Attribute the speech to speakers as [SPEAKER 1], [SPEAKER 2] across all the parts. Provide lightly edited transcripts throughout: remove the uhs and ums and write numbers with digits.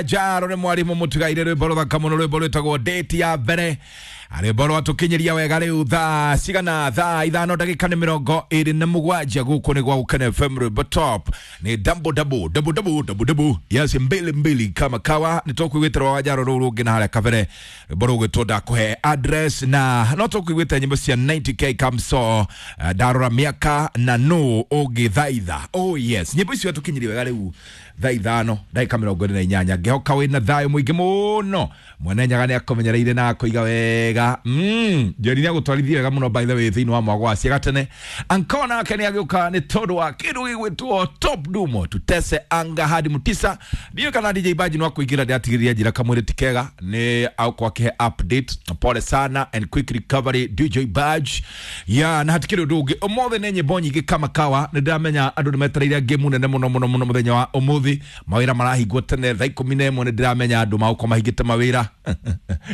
[SPEAKER 1] Jaro nĩ mwarimũ mũtigaire rwĩmbo rũthaka mũno, rwĩmbo rwĩtagwo Date ya mbere, rwĩmbo rwatũkinyĩria wega. Rĩu thaa cigana? Thaa 5 ndagĩka nĩ 27. Gũkũ nĩ gwa Gũkena FM. Rwĩmbo top nĩ double double double double double double, yes, mbili mbili kama kawa. Nĩ tũkuiguĩte rwa Jaro rũu rũngĩ na harĩa kabere rwĩmbo rũgwĩtwo ndakũhe address, na no tũkuiguĩte nyĩmbo cia 90K Kamso, ndarora mĩaka na nũ ũngĩthaitha. Oh yes, nyĩmbo icio tũkinyĩria wega rĩu thaa 5 ndagĩka 48. Ngĩhoka wĩna thayũ mũingĩ mũno. Mwene Nyaga nĩ akũmenyereire na akũiga wega. Njeri nĩ agũtwarithia wega mũno, by the way, thĩinĩ wa mwago wa ciaga tene. Anko nake nĩ agĩũka nĩ tondũ wa kĩndũ gĩgwĩtwo Top Dumo tutese anga hadi mutisa. Ndiũĩ kana DJ Baji no akũingĩra, ndĩratigĩrĩria njĩra kamwĩrĩ ti kega, nĩ agũkorwo akĩhe update. Pole sana and quick recovery, DJ Baj ya. Na hatikĩrĩ ũndũ ũngĩ, ũmũthĩ nĩ nyĩmbo nyingĩ kama kawa. Nĩ ndĩramenya andũ nĩ metereire ngĩmu nene mũno mũno mũno mũthenya wa ũmũthĩ. Mawĩra marahingwo tene thaa 11. Nĩ ndĩramenya andũ magũkorwo mahingĩte mawĩra,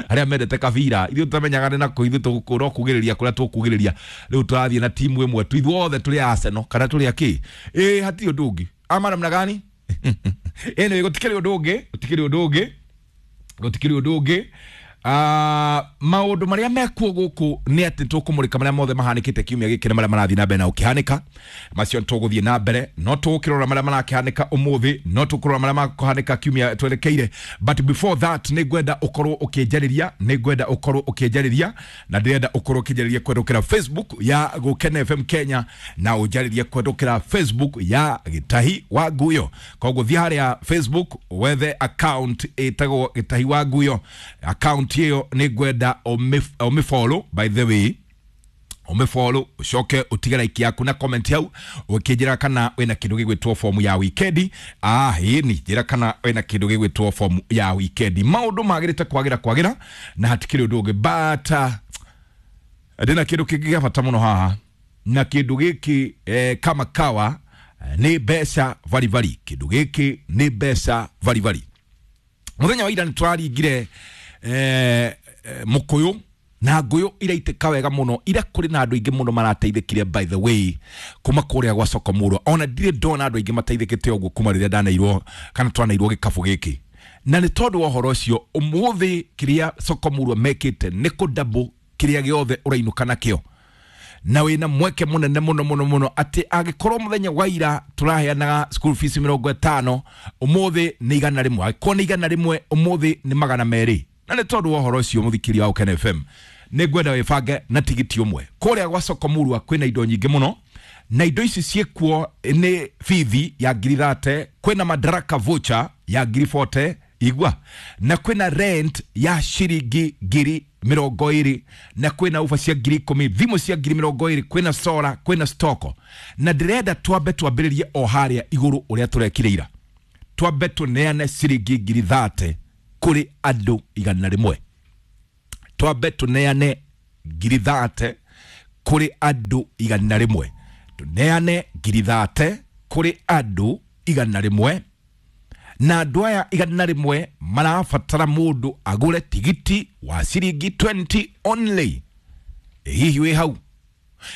[SPEAKER 1] arĩa mendete kabira. Ithuĩ tũtamenyaga nĩ nakũ, ithuĩ no kugĩrĩria kũrĩa tũkugĩrĩria. Rĩu tũrathiĩ na timu ĩmwe tu, ithuothe tũrĩ Arsenal kana tũrĩ akĩ. Ĩ hatirĩ ũndũ ũngĩ ama namna gani? Anyway, gũtikĩrĩ ũndũ ũngĩ, gũtikĩrĩ ũndũ ũngĩ, gũtikĩrĩ ũndũ ũngĩ. Maũndũ marĩa mekuo gũkũ nĩ atĩ tũkũmũrĩka marĩa mothe mahanĩkĩte kiumia gĩkĩ na marĩa marathiĩ na mbere na ũkĩhanĩka. Macio tũgũthiĩ na mbere, no tũgũkĩrora marĩa marakĩhanĩka ũmũthĩ, no tũkũrora marĩa makũhanĩka kiumia twerekeire. But before that, nĩ ngwenda ũkorwo ũkĩnjarĩria, nĩ ngwenda ũkorwo ũkĩnjarĩria, na ndĩrenda ũkorwo ũkĩnjarĩria kũhetũkĩra Facebook ya Gũkena FM Kenya, na ũnjarĩrie kũhetũkĩra Facebook ya Gĩtahi wa Nguyo. Koguo thiĩ harĩa Facebook wethe account ĩtagwo Gĩtahi wa Nguyo. Account ĩyo nĩ ngwenda ũmĩfollow, by the way, ũmĩfollow, ũcoke ũtige like yaku na comment hau ũkĩnjĩra kana wĩna kĩndũ gĩgwĩtwo fomu ya wikendi. Ah, ĩni njĩra kana wĩna kĩndũ gĩgwĩtwo fomu ya wikendi. Maũndũ magĩrĩte kwagĩra kwagĩra na hatikĩrĩ ũndũ ũngĩ, but ndĩna kĩndũ kĩngĩ gĩa bata mũno haha, na kĩndũ gĩkĩ kama kawa nĩ mbeca varibari. Kĩndũ gĩkĩ nĩ mbeca varibari. Mũthenya wa ira nĩ tũraringire mũkũyũ na ngũyũ iraitĩka wega mũno. Ira kũrĩ na andũ aingĩ mũno marateithĩkire, by the way, kuma kũrĩa gwa soko mũrwa. Ona ndirĩ ndona andũ aingĩ mateithĩkĩte ũguo kuma rĩrĩa ndaneirwo kana twanairwo gĩkabũ gĩkĩ. Na nĩ tondũ wa ũhoro ũcio, ũmũthĩ kĩrĩa soko mũrwa mekĩte nĩ kũdouble kĩrĩa gĩothe ũrainũka nakĩo, na wĩna mweke mũnene mũno mũno mũno atĩ angĩkorwo mũthenya wa ira tũraheanaga school fees 50, ũmũthĩ nĩ 100. Angĩkorwo nĩ 100, ũmũthĩ nĩ 200. Na nĩ tondũ wa ũhoro ũcio, mũthikĩria wa Gũkena FM, nĩ ngwenda wĩbange na tigiti ũmwe. Kũrĩa gwa soko mũrua kwĩna indo nyingĩ mũno, na indo ici ciĩkuo nĩ bithi ya ngiri 30, kwĩna madaraka voucher ya ngiri 40, igua, na kwĩna rent ya ciringi ngiri 20, na kwĩna uba cia ngiri 10, thimũ cia ngiri 20, kwĩna sora, kwĩna stoko. Na ndĩrenda twambe twambĩrĩrie o harĩa igũrũ ũrĩa tũrekire ira. Twambe tũneane ciringi ngiri 30 kũrĩ andũ 100. Twambe tũneane ngiri 30 kũrĩ andũ 100. Tũneane ngiri 30 kũrĩ andũ 100, na andũ aya 100 marabatara mũndũ agũre tigiti wa ciringi 20 only. Ĩ hihi wĩ hau?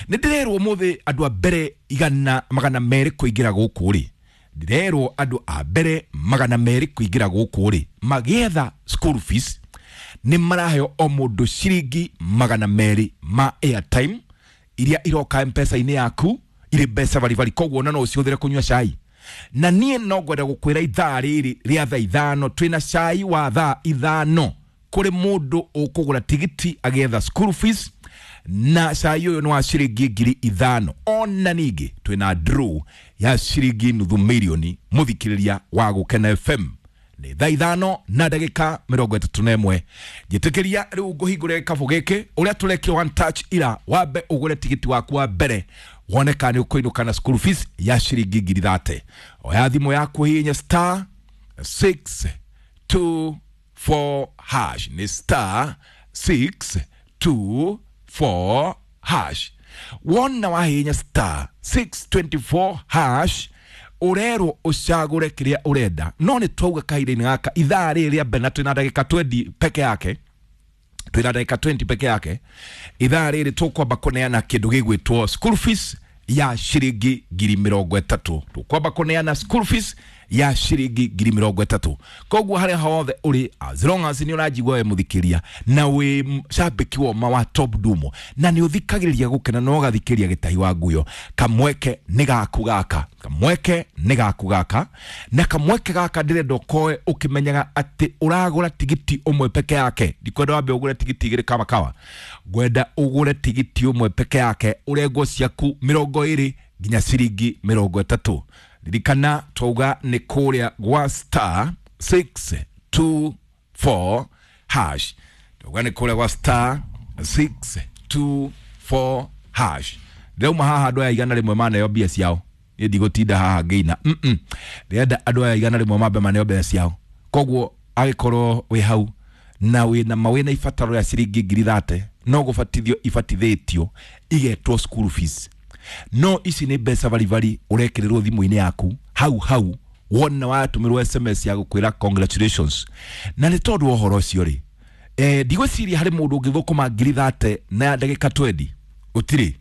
[SPEAKER 1] Nĩ ndĩrerwo ũmũthĩ andũ a mbere 200 kũingĩra gũkũ rĩ, ndĩrerwo andũ a mbere 200 kũingĩra gũkũ rĩ, magĩetha school fees, nĩ maraheo o mũndũ ciringi 200 ma airtime iria iroka mpesa-inĩ yaku irĩ mbeca baribari. Koguo ona no ũcihũthĩre kũnyua cai. Na niĩ no ngwenda gũkwĩra ithaa rĩrĩ rĩa thaa 5 twĩna cai wa thaa 5 kũrĩ mũndũ ũkũgũra tigiti agĩetha school fees, na cai ũyũ nĩ wa ciringi ngiri 5. Ona ningĩ twĩna draw ya ciringi nuthu mirioni. Mũthikĩrĩria wa Gũkena FM, nĩ thaa 5 na ndagĩka 31. Njĩtĩkĩria rĩu ngũhingũre gĩkabũ gĩkĩ ũrĩa tũrekire one touch ira. Wambe ũgũre tigiti waku wa mbere, wone kana nĩ ũkũinũka na school fees ya ciringi ngiri 30. Oya thimũ yaku, hihinya star 6 2 4 hash. Nĩ star 6 2 4 hash. Wona wahihinya star 624 hash, ũrerwo ũcagũre kĩrĩa ũrenda. No nĩ twauga kahinda-inĩ gaka ithaa rĩrĩ rĩa mbere, na twĩna ndagĩka 20 peke yake, twĩna ndagĩka 20 peke yake, ithaa rĩrĩ tũkwamba kũneana kĩndũ gĩgwĩtwo school fees ya ciringi ngiri 30. Tũkwamba kũneana school fees. ya ciringi 30,000. Koguo haria hothe uri, as long as ni uranjigua we muthikiria na wi cambiki woma wa Top Dumo na ni uthikagiriria gukena no ugathikiria Gitahi wa Nguyo, kamweke ni gaku gaka, kamweke ni gaku gaka, na kamweke gaka ndirenda ukoe ukimenyaga ati uragura tigiti umwe peke yake. Ndikwenda wambe ugure tigiti igiri kama kawa, ngwenda ugure tigiti umwe peke yake urengwo ciaku 20 nginya ciringi 30. Ririkana twauga nĩ kũrĩa gwa star 624 hash, twauga nĩ kũrĩa gwa star 624 hash. Ndĩrauma haha andũ aya 100 maneo mbia ciao, niĩ ndigũtinda haha ngĩina, ndĩrenda andũ aya 100 mambe maneo mbia ciao. Koguo agĩkorwo wĩ hau na wĩna mawĩna ibataro rĩa ciringi 30,000 no gũbatithio ibatithĩtio igetwo school fees. No ici nĩ mbeca baribari ũrekĩrĩrwo thimũ-inĩ yaku hau hau wona watũmĩrwo SMS ya gũkwĩra congratulations. Na nĩ tondũ wa ũhoro ũcio rĩ, ndigwĩciria harĩ mũndũ ũngĩthũkũma 30,000 na ndagĩka 20, ũtirĩ,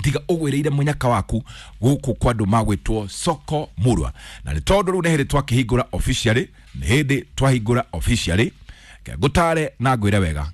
[SPEAKER 1] tiga ũgwĩrĩire mũnyaka waku gũkũ kwa andũ magwĩtwo Soko Murwa. Na nĩ tondũ rĩu nĩ hĩndĩ twakĩhingũra officially, nĩ hĩndĩ twahingũra officially, ngũtare na ngwĩre wega,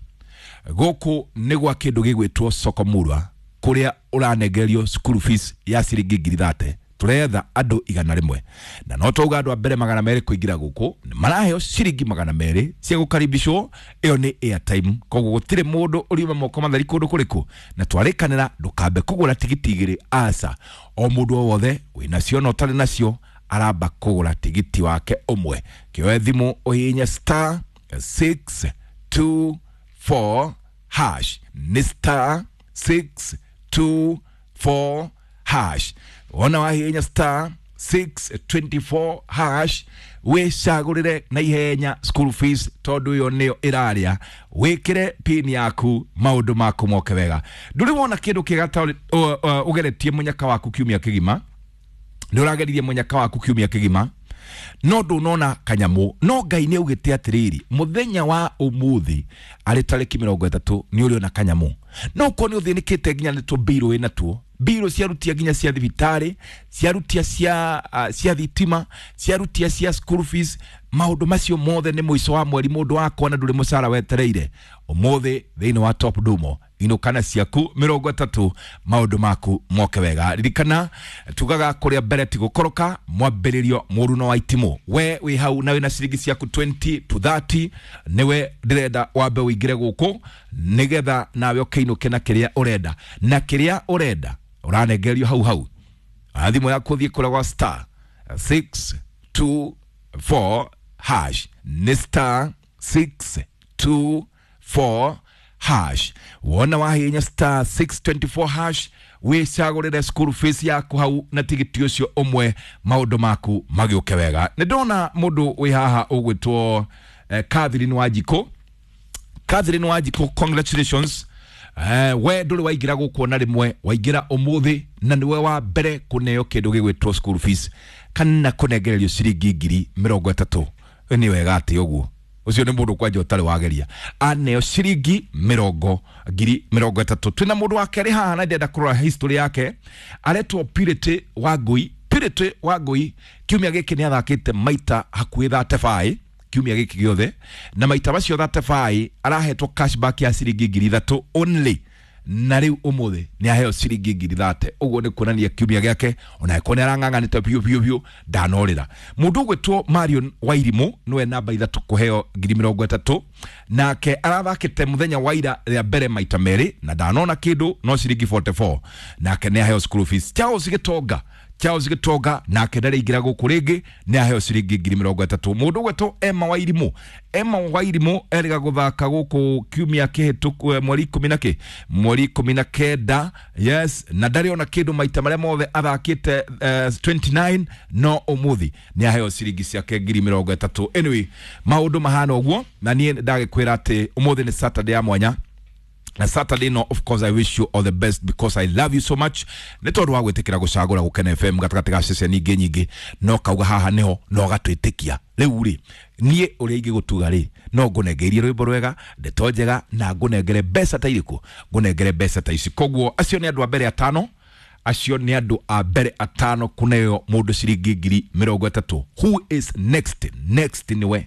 [SPEAKER 1] gũkũ nĩ gwa kĩndũ gĩgwĩtwo Soko Murwa kuria uranengerio school fees ya ciringi 30,000. Turetha andu 100, na no twauga andu a mbere 200 kuingira guku maraheo ciringi 200 cia gukaribishwo. Iyo ni airtime, koguo gutire mundu uriuma moko matheri kundu kuriku, na twarikanira ndukambe kugura tigiti igiri aca. O mundu o wothe winacio na utari nacio aramba kugura tigiti wake umwe. Kioe thimu uhihinye star 624 hash, ni star 624 hash. Wona wahihinya star 624 hash wicagurire na ihenya school fees, tondu iyo niyo iraria. Wikire pin yaku maundu maku moke wega. Nduri wona kindu kiega ta ugeretie munyaka waku kiumia kigima, ni urageririe munyaka waku kiumia kigima no ndunona kanyamu, no Ngai ni augite atiriri muthenya wa umuthi ari tariki 30 ni uriona kanyamu. No ko ni uthinikite nginya ni tumbirũ wina tuo, mbirũ ciarutia nginya cia thibitarĩ, ciarutia cia thitima, ciarutia cia school fees, maundu macio mothe ni muico wa mweri mundu wakwa na nduri mucara wetereire. Umuthi thiini wa Top Dumo inukana ciaku 30 maundu maku moke wega. Ririkana tugaga kuria mbere ti gukoroka, mwambiririo muruno wa itimu. We wi hau na wina ciringi ciaku 20 to 30 niwe ndirenda wambe uingire guku nigetha nawe ukiinuke na kiria urenda, na kiria urenda uranengerio hau hau. Thimũ yaku thiĩ kũrĩa gwa star 624 hash, ni star 624 hash. Wona wahinya star 624 hash wicagũrĩre school fees yaku hau na tigiti ũcio ũmwe, maũndũ maku magĩũke wega. Nĩ ndona mũndũ wĩ haha ũgwĩtwo Catherine Wanjikũ. Catherine Wanjikũ, congratulations. We ndũrĩ waingĩra gũkũ ona rĩmwe, waingĩra ũmũthĩ na nĩwe wa mbere kũneo kĩndũ gĩgwĩtwo school fees kana kũnengererio ciringi 30,000. Nĩ wega atĩ ũguo ucio nĩ mũndũ kwanja ũtarĩ wageria aneo ciringi 30,000. Twĩna mũndũ wa kerĩ haha na ndĩrenda kũrora history yake, aretwo Purity Wangui. Purity Wangui kiumia gĩkĩ nĩ athakĩte maita hakuhĩ 35 kiumia gĩkĩ gĩothe, na maita macio 35 arahetwo cashback ya ciringi 3,000 only, na rĩu ũmũthĩ nĩ aheo ciringi 30,000. Ũguo nĩ kuonania kiumia gĩake ona ĩkorwo nĩ arang'ang'anĩte biũ biũ biũ ndanorĩra. Mũndũ ũgwĩtwo Marion Wairimũ nĩwe namba 3 kũheo 30,000, nake arathakĩte mũthenya wa ira rĩa mbere maita merĩ na ndanona kĩndũ no ciringi 44, nake nĩ aheo school fees. Charles Gĩtonga, Charles Gĩtonga nake ndarĩ ingĩra gũkũ rĩngĩ nĩ aheo ciringi 30,000. Mũndũ ũgwĩtwo Emma Wairimũ, Emma Wairimũ erĩga gũthaka gũkũ kiumia kĩhĩtũku mweri 10 na kĩ, mweri 19, yes, na ndarĩ ona kĩndũ maita marĩa mothe athakĩte 29, no ũmũthĩ nĩ aheo ciringi ciake 30,000. Anyway, maũndũ mahana ũguo, na niĩ ndagĩkwĩra atĩ ũmũthĩ nĩ Saturday ya mwanya. Na Saturday no, of course I wish you all the best because I love you so much. Nĩ tondũ wa gwĩtĩkĩra gũcagũra Gũkena FM gatagatĩ ga ceceni ingĩ nyingĩ, no kauga haha nĩho no gatwĩtĩkia. Rĩu rĩ niĩ ũrĩa ingĩgũtuga rĩ, no ngũnengerie rwĩmbo rwega, ndeto njega, na ngũnengere mbeca ta irĩkũ, ngũnengere mbeca ta ici. Koguo acio nĩ andũ a mbere atano Acio nĩ andũ a mbere atano kũneo mũndũ ciringi 30,000. Who is next? Next nĩwe.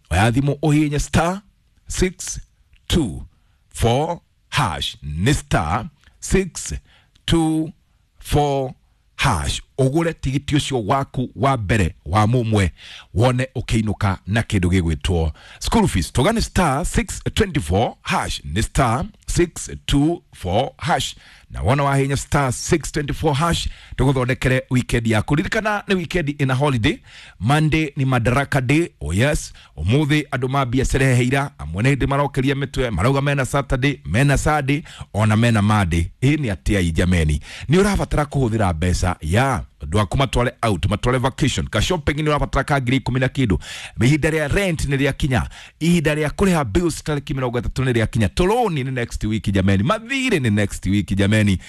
[SPEAKER 1] Oya thimũ ũhihinye star 624 hash, nĩ star 624 hash, ũgũre tigiti ũcio waku wa mbere wa mũmwe wone ũkĩinũka na kĩndũ gĩgwĩtwo school fees. Tũgane star 624 hash, nĩ star 624 hash, na wona wahinya star 624 hash tũgũthondekere weekend yaku. Ririkana nĩ weekend ina holiday. Monday ni Madaraka Day. Oh yes, ũmũthĩ andũ mambia cerehe ira, amwe nĩ hĩndĩ marokeria mĩtwe marauga mena Saturday, mena Sunday, ona mena Monday. Ĩ nĩ atĩa jameni, nĩ ũrabatara kũhũthĩra mbeca ya andũ aku matware out, matware vacation, ka shopping nĩ ũrabatara ka 10,000 na kĩndũ. Ihinda rĩa rent nĩ rĩakinya, ihinda rĩa kũrĩha bills tarĩki 30 nĩ rĩakinya, tũrũni nĩ next week jameni, mathirĩ nĩ next week jameni.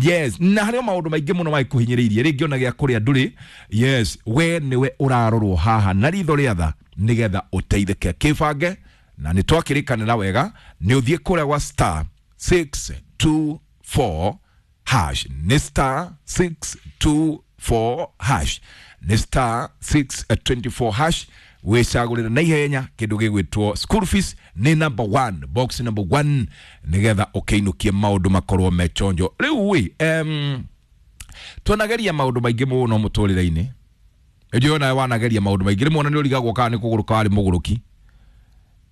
[SPEAKER 1] Yes, na harĩ o maũndũ maingĩ mũno magĩkũhinyĩrĩirie, rĩngĩ ona gĩa kũrĩa ndũrĩ. Yes, we nĩwe ũrarorwo haha na ritho rĩa tha nĩgetha ũteithĩke kĩbange, na nĩ twakĩrĩkanĩra wega nĩ ũthiĩ kũrĩa gwa star 624 hash, nĩ star 624 hash, nĩ star 624 hash, wĩcagũrĩre na ihenya kĩndũ gĩgwĩtwo school fees, nĩ number 1, box number 1, nĩgetha ũkĩinũkie maũndũ makorwo me chonjo. Rĩu ĩ twanageria maũndũ maingĩ mũno mũtũrĩre-inĩ. Nĩnjũĩ nawe wanageria maũndũ maingĩ, rĩmwe ona nĩ ũrigagwo kana nĩ kũgũrũka warĩ mũgũrũki,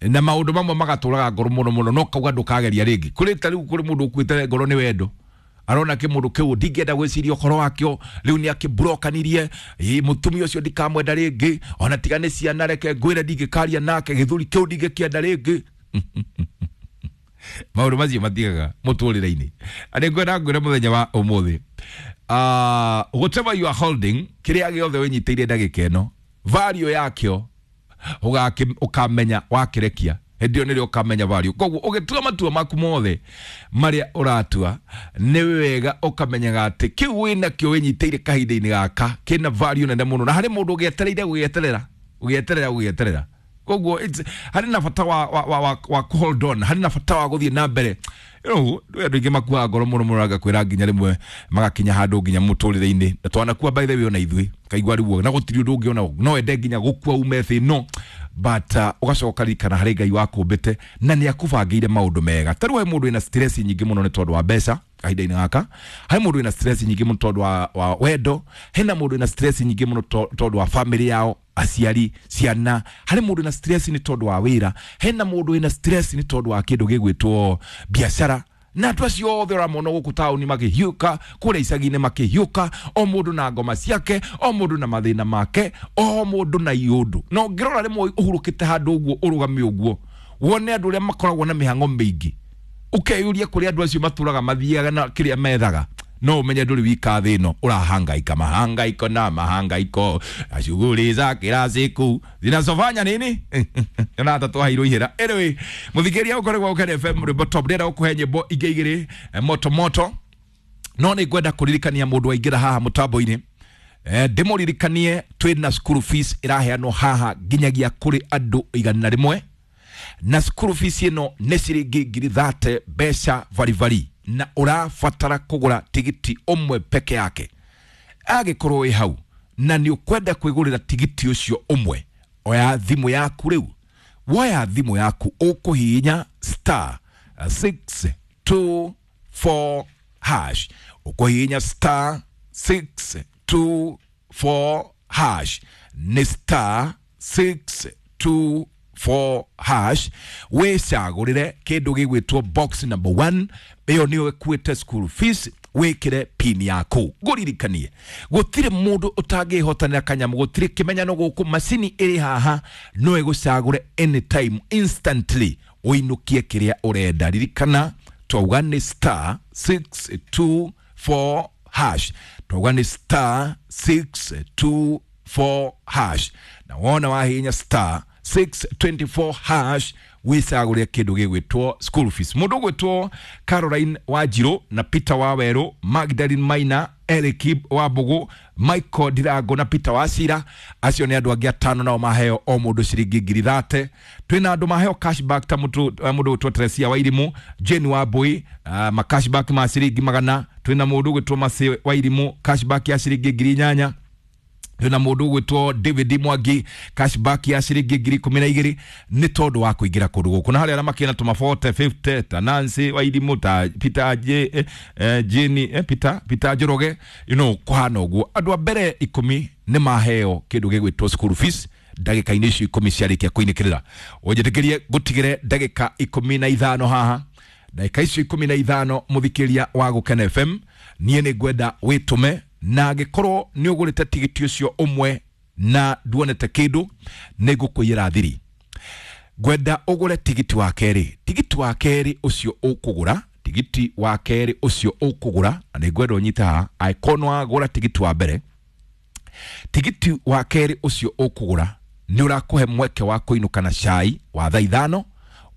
[SPEAKER 1] na maũndũ mamwe magatũraga ngoro mũno mũno, no kauga ndũkageria rĩngĩ. Kũrĩ ta rĩu kũrĩ mũndũ ũkuĩte ngoro nĩ wendo, arona kä må ndå kä u ndingĩenda gwĩciria ũhoro wakĩo, rĩu nĩ akĩmburokanirie, mũtumia ũcio ndikamwenda rĩngĩ, ona tiga nĩ ciana reke ngwĩre ndingĩkaria nake, gĩthuri kĩu ndingĩkĩenda rĩngĩ. Maũndũ macio matigaga mũtũrĩre-inĩ. Nĩ ngwenda ngwĩre mũthenya wa ũmũthĩ, whatever you are holding, kĩrĩa gĩothe wĩnyitĩire ndagĩka ĩno, value yakĩo ũkamenya wakĩrekia hĩndĩ ĩyo nĩrĩo ũkamenya value. Koguo ũgĩtua matua maku mothe marĩa ũratua, nĩ wega ũkamenyaga atĩ kĩu wĩnakĩo wĩnyitĩire kahinda-inĩ gaka kĩna value nene mũno, na harĩ mũndũ ũgĩetereire gũgĩeterera ũgĩeterera gũgĩeterera. Koguo harĩ na bata wa hold on, harĩ na bata wa gũthiĩ na mbere. You know, andũ aingĩ makuaga ngoro mũno mũno, agakwĩra nginya rĩmwe magakinya handũ nginya mũtũrĩre-inĩ, na twanakua by the way ona ithuĩ kaigua rĩu na gũtirĩ ũndũ ũngĩ ona no ende nginya gũkua ume thĩ ĩno, but ũgacoka ririkana harĩ Ngai wakũmbĩte na nĩ akũbangĩire maũndũ mega. Ta rĩu he mũndũ wĩna stress nyingĩ mũno nĩ tondũ wa mbeca kahinda-inĩ gaka, he mũndũ wĩna stress nyingĩ mũno tondũ wa wendo, hena mũndũ wĩna stress nyingĩ mũno tondũ wa family yao, aciari, ciana, harĩ mũndũ wĩna stress nĩ tondũ wa wĩra, hena mũndũ wĩna stress nĩ tondũ wa kĩndũ gĩgwĩtwo biacara. Na andũ acio othe ũramona gũkũ taũni makĩhiũka, kũrĩa icagi-inĩ makĩhiũka, o mũndũ na ngoma ciake, o mũndũ na mathĩna make, o mũndũ na iũndũ. Na ũngĩrora rĩmwe ũhurũkĩte handũ ũguo ũrũgame ũguo, wone andũ arĩa makoragwo na mĩhang'o mĩingĩ, ũkeyũria kũrĩa andũ acio matũraga mathiaga na kĩrĩa methaga, no ũmenye ndũrĩ wika thĩ ĩno ũrahangaika mahangaiko na mahangaiko na shughuli za kila siku zinazofanya nini na hata twaheirwo ihera. Anyway, mũthikĩria ũkoragwo Ũkene FM rwĩmbo top, ndĩrenda gũkũhe nyĩmbo ingĩ igĩrĩ moto moto, no nĩ ngwenda kũririkania mũndũ waingĩra haha mũtambo-inĩ, ndĩmũririkanie twĩna school fees ĩraheanwo haha nginyagia kũrĩ andũ 100, na school fees ĩno nĩ ciringi 30,000 mbeca baribari, na ũrabatara kũgũra tigiti ũmwe peke yake. Angĩkorwo wĩ hau na nĩ ũkwenda kwĩgũrĩra tigiti ũcio ũmwe, oya thimũ yaku rĩu, woya thimũ yaku ũkũhihinya star 624 hash, ũkũhihinya star 624 hash, nĩ star 624 hash, wĩcagũrĩre kĩndũ gĩgwĩtwo box number 1, ĩyo nĩyo ĩkuĩte school fees, wĩkĩre pin yaku. Ngũririkanie gũtirĩ mũndũ ũtangĩhotanĩra kanyamũ, gũtirĩ kĩmenyano gũkũ, macini ĩrĩ haha no ĩgũcagũre anytime instantly ũinũkie kĩrĩa ũrenda. Ririkana twauga nĩ star 624 hash, twauga nĩ star 624 hash, na wona wahihinya star 624 hash wĩcagũre kĩndũ gĩgwĩtwo school fees. Mũndũ ũgwĩtwo Caroline Wanjirũ na Peter Wawerũ, Magdalene Maina, Eric Wambugu, Michael Ndirango na Peter Wacira, acio nĩ andũ angĩ atano nao maheo o mũndũ ciringi 30,000. Twĩna andũ maheo cashback ta mũndũ ũgwĩtwo Teresia Wairimu, Jane Wambui, ma cashback ma ciringi 100. Twina mũndũ ũgwĩtwo Masi Wairimu cashback ya ciringi 8,000. Twina mũndũ ũgwĩtwo David Mwangi cashback ya ciringi 12,000 nĩ tondũ wa kũingĩra kũndũ gũkũ. Na harĩa arĩa makĩna tũma 40 50 ta Nancy Wairimu ta Peter J, Jane, Peter Njoroge, you know, kũhana ũguo. Andũ a mbere 10 nĩ maheo kĩndũ gĩgwĩtwo school fees ndagĩka-inĩ icio 10 ciarĩkia kũinĩkĩrĩra. Ũnjĩtĩkĩrie ngũtigĩre ndagĩka 15 haha. Ndagĩka icio 15 mũthikĩria wa Gũkena FM, niĩ nĩ ngwenda wĩtũme, na angĩkorwo nĩ ũgũrĩte tigiti ũcio ũmwe na nduonete kĩndũ, nĩ ngũkũiyĩra thiri. Ngwenda ũgũre tigiti wa kerĩ. Tigiti wa kerĩ ũcio ũkũgũra, tigiti wa kerĩ ũcio ũkũgũra, na nĩ ngwenda ũnyite haha, angĩkorwo nĩ wagũra tigiti wa mbere, tigiti wa kerĩ ũcio ũkũgũra nĩ ũrakũhe mweke wa kũinũka na cai wa thaa 5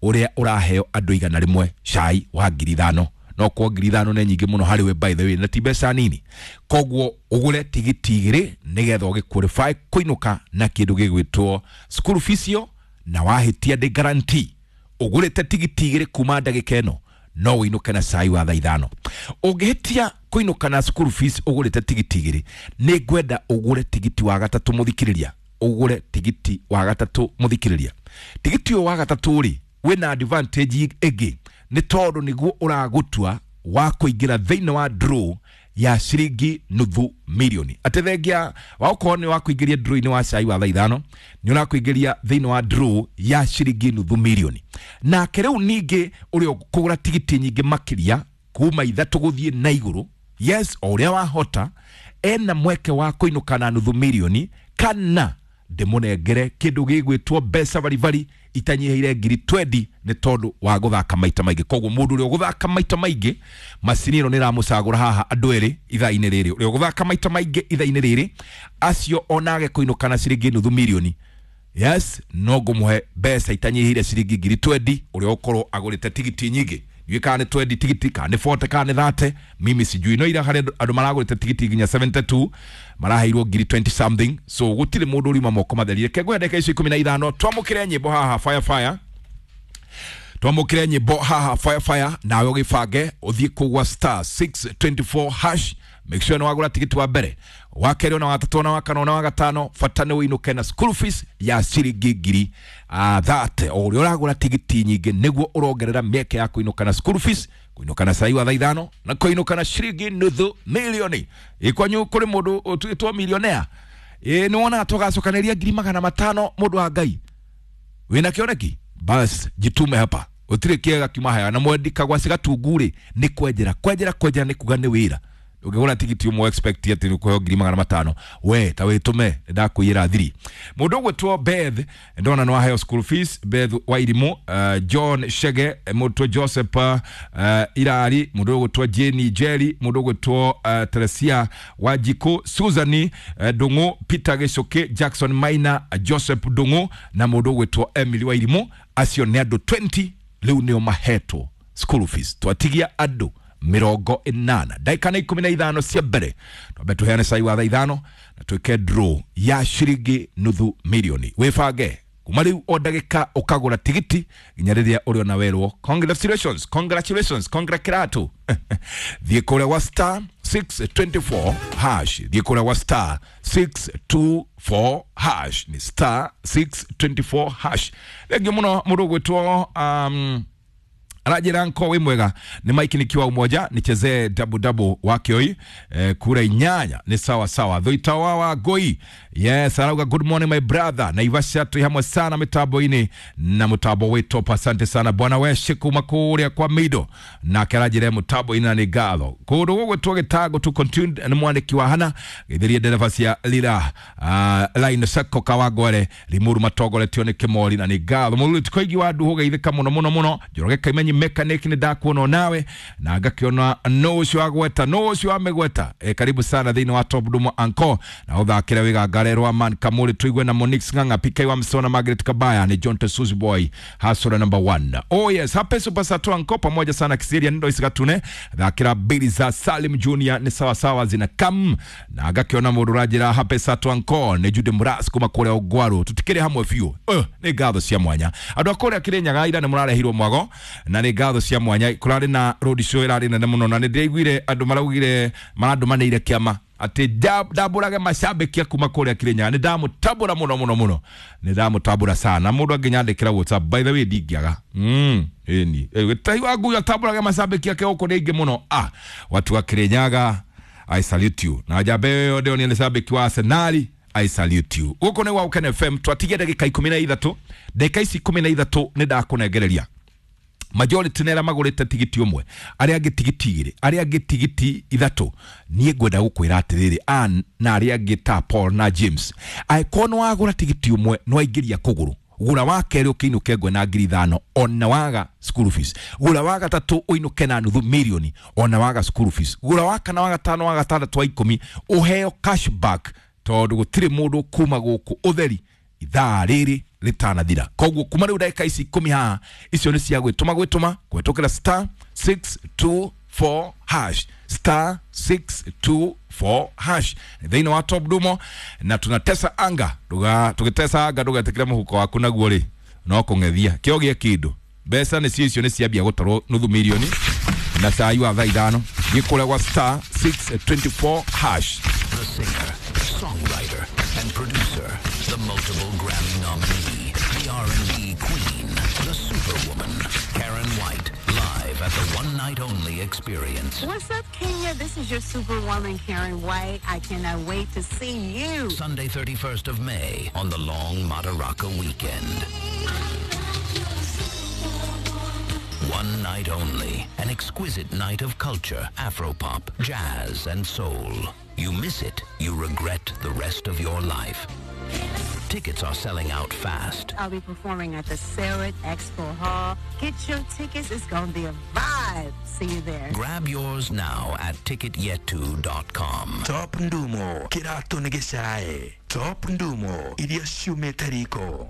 [SPEAKER 1] ũrĩa ũraheo andũ 100, cai wa 5,000. No kwa 5,000 nĩ nyingĩ mũno harĩ we, by the way, na ti mbeca nini. Koguo ũgũre tigiti 2 nĩgetha ũgĩ qualify kũinũka na kĩndũ gĩgwĩtwo school fees yo, na wahĩtia ndĩ guarantee ũgũrĩte tigiti 2 kuma ndagĩka ĩno no ũinũke na cai wa thaa 5. Ũngĩhĩtia kũinũka na school fees ũgũrĩte tigiti 2, nĩ ngwenda ũgũre tigiti wa gatatũ mũthikĩrĩria. Ũgũre tigiti wa gatatũ mũthikĩrĩria. Tigiti ũyũ wa gatatũ rĩ, wĩna advantage ĩngĩ nĩ tondũ nĩguo ũragũtua wa kũingĩra thĩinĩ wa draw ya ciringi 500,000. Atĩ thengia wa ũkorwo nĩ wa kũingĩria draw-inĩ wa cai wa thaa 5, nĩ ũrakũingĩria thĩinĩ wa draw ya ciringi 500,000. Nake rĩu ningĩ ũrĩa ũkũgũra tigiti nyingĩ makĩria kuma 3 gũthiĩ na igũrũ, yes, o ũrĩa wahota, ena mweke wa kũinũka na 500,000 kana ndĩmũnengere kĩndũ gĩgwĩtwo mbeca baribari itanyihĩire 20,000 nĩ tondũ wa gũthaka maita maingĩ. Koguo mũndũ ũrĩa ũgũthaka maita maingĩ, macini ĩno nĩ ĩramũcagũra haha andũ erĩ ithaa-inĩ rĩrĩ. Ũrĩa ũgũthaka maita maingĩ ithaa-inĩ rĩrĩ, acio onage kũinũka na ciringi 500,000, yes, no ngũmũhe mbeca itanyihĩire ciringi 20,000 ũrĩa ũkorwo agũrĩte tigiti nyingĩ. Ndiũĩ kana nĩ 20 tigiti, kana nĩ 40, kana nĩ 30, mimi sijui. No ira harĩ andũ maragũrĩte tigiti nginya 72 maraheirwo 20 something, so gũtirĩ mũndũ ũriuma moko matheri. Reke ngũhe ndagĩka icio 15 twamũkĩre nyĩmbo haha fire fire. Twamũkĩre nyĩmbo haha fire fire, nawe ũgĩbange ũthiĩ kũgwa star 624 hash. Make sure nĩ wagũra tigiti wa mbere, wa kerĩ, na wa gatatũ, na wa kana, na wa gatano. Bata nĩ ũinũke na school fees ya ciringi 30,000. O ũrĩa ũragũra tigiti nyingĩ nĩguo ũrongerera mĩeke ya kũinũka na school fees, kũinũka na cai wa thaa 5, na kũinũka na ciringi 500,000. Ĩ kwanyu kũrĩ mũndũ ũtuĩtwo millionaire? Ĩ nĩ wonaga tũgacokanĩria 500,000 mũndũ wa Ngai wĩna kĩoneki? Bas jitume hapa, ũtirĩ kĩega kiuma haya. Na mwendi kagwaci gatungu rĩ, nĩ kwenjera kwenjera kwenjera, nĩ kuga nĩ wĩra. Ũngĩgũra tigiti ũmwe expect atĩ nĩ ũkũheo 500,000, we ta wĩtũme, nĩndakũiyĩra thiri. Mũndũ ũgwĩtwo Beth ndona nĩ waheo school fees, Beth Wairimu, John Shege, mũndũ Joseph Irari, mũndũ ũgwĩtwo Jane Jerry, mũndũ ũgwĩtwo Teresia Wanjikũ, Susan Ndung'u, Peter Gĩcũkĩ, Jackson Maina, Joseph Ndung'u na mũndũ ũgwĩtwo Emily Wairimu. Acio nĩ andũ 20 rĩu nĩo mahetwo school fees. Twatigia andũ 80 ndagĩka nĩ 15 cia mbere. Twambe tũheane cai wa thaa 5 na twĩke draw ya ciringi 500,000. Wĩbange kuma rĩu o ndagĩka ũkagũra tigiti nginya rĩrĩa ũrĩona werwo congratulations, congratulations, congratulato. Thiĩ kũrĩa gwa star 624 hash, thiĩ kũrĩa gwa star 624 hash, ni star 624 hash. Thengiũ mũno mũndũ ũgwĩtwo aranjĩra nko wĩ mwega, nĩ Mike nikiwa Umoja, nichezee double double wa Kioi, kura 8 ni sawa sawa. Thuita wa Ngoi, yes, arauga good morning my brother, Naivasha twi hamwe sana mitambo-inĩ na mutambo wĩ top. Asante sana bwana weshe kuma kũrĩa kwa Mido, nake aranjĩra mutambo-inĩ na nĩ ngatho. Kũndũ gũgwĩtwo Gĩtango to continue nĩ mwandĩki wa hana gĩthĩrie ndereba cia Lira line Sacco Kawangware Limuru matongoretio nĩ Kĩmori na nĩ ngatho. Mũruri tikoigi wa nduhu geithĩka mũno mũno mũno. Njoroge Kaimenyi mechanic nĩ ndakuona nawe na ngakiona no ũcio agweta, no ũcio amegweta. Karibu sana thĩinĩ wa Top Dumo Anko na ũthakĩre wĩgangare rwa man Kamuri tuigue na Monix Ng'ang'a PK wa Msona Margaret Kabaya ni John Tesuzi Boy hasura number 1. Oh yes, hape super sato anko pamoja sana Kisiria ndo isigatune thakĩra mbili za Salim Junior ni sawa sawa zina kam na ngakiona mũndũ ũranjĩra hape sato anko ni Jude Muras kuma kũrĩa Ũgwaru tutikĩrĩ hamwe biũ. Nĩ ngatho cia mwanya andũ a kũrĩa Kĩrĩnyaga ira nĩ mũrarehirwo mwago na Na nĩ ngatho cia mwanya. Kũrarĩ na road show ĩrarĩ nene mũno, na nĩ ndĩraiguire andũ maraugire marandũmanĩire kĩama atĩ ndambũrage macambĩki kuma kũrĩa Kirinyaga. Nĩ ndamũtambũra mũno mũno mũno, nĩ ndamũtambũra sana. Mũndũ angĩnyandĩkĩra WhatsApp, by the way, ndingĩaga. Ĩni Gĩtahi wa Ngui atambũrage macambĩki ake gũkũ nĩ aingĩ mũno. Ah, watu wa Kirinyaga, I salute you. Na njamba ĩyo ndĩronire nĩ cambĩki wa Arsenal, I salute you. Gũkũ nĩ gwa Gũkena FM. Twatigia ndagĩka 13. Ndagĩka ici 13 nĩ ndakũnengereria majority nĩ arĩa magũrĩte tigiti ũmwe, arĩa angĩ tigiti igĩrĩ, arĩa angĩ tigiti ithatũ. Niĩ ngwenda gũkwĩra atĩrĩrĩ, Ann na arĩa angĩ ta Paul na James, angĩkorwo nĩ wagũra tigiti ũmwe nĩ waingĩria kũgũrũ, gũra wa kerĩ ũkĩinũke ngwe na 5,000 ona waga school fees. Gũra wa gatatũ ũinũke na nuthu mirioni ona waga school fees. Gũra wa kana, wa gatano, wa gatandatũ, wa 10, ũheo cashback, tondũ gũtirĩ mũndũ kuma gũkũ ũtheri ithaa rĩrĩ rĩtanathira. Koguo kuma rĩu ndagĩka ici 10 haha, icio nĩ cia gwĩtũma gwĩtũma kũhetũkĩra star 624 hash, star 624 hash thĩinĩ wa Top Dumo. Na tunatesa anga Nduga, tũgĩtesa anga ndũgetĩkĩre mũhuko waku naguo rĩ no kũng'ethia kĩo gĩa kĩndũ. Mbeca nĩcio icio nĩ ciambia gũtarwo nuthu mirioni na cai wa thaa 5. Thiĩ kũrĩa gwa star 624 hash.
[SPEAKER 2] The singer, songwriter, and producer, the multiple Grammy nominee, the R&B queen, the superwoman, Karen White, live at the One Night Only Experience.
[SPEAKER 3] What's up, Kenya? This is your superwoman, Karen White. I cannot wait to see you.
[SPEAKER 2] Sunday, 31st of May, on the long Madaraka weekend. One night only, an exquisite night of culture, Afropop, jazz, and soul. You miss it, you regret the rest of your life. Tickets are selling out fast.
[SPEAKER 3] I'll be performing at the Sarit Expo Hall. Get your tickets. It's going to be a vibe. See you there.
[SPEAKER 2] Grab yours now at ticketyetu.com.
[SPEAKER 4] Top Ndumo kĩratũ nĩ gĩcae. Top Ndumo, irio ciumĩte riko.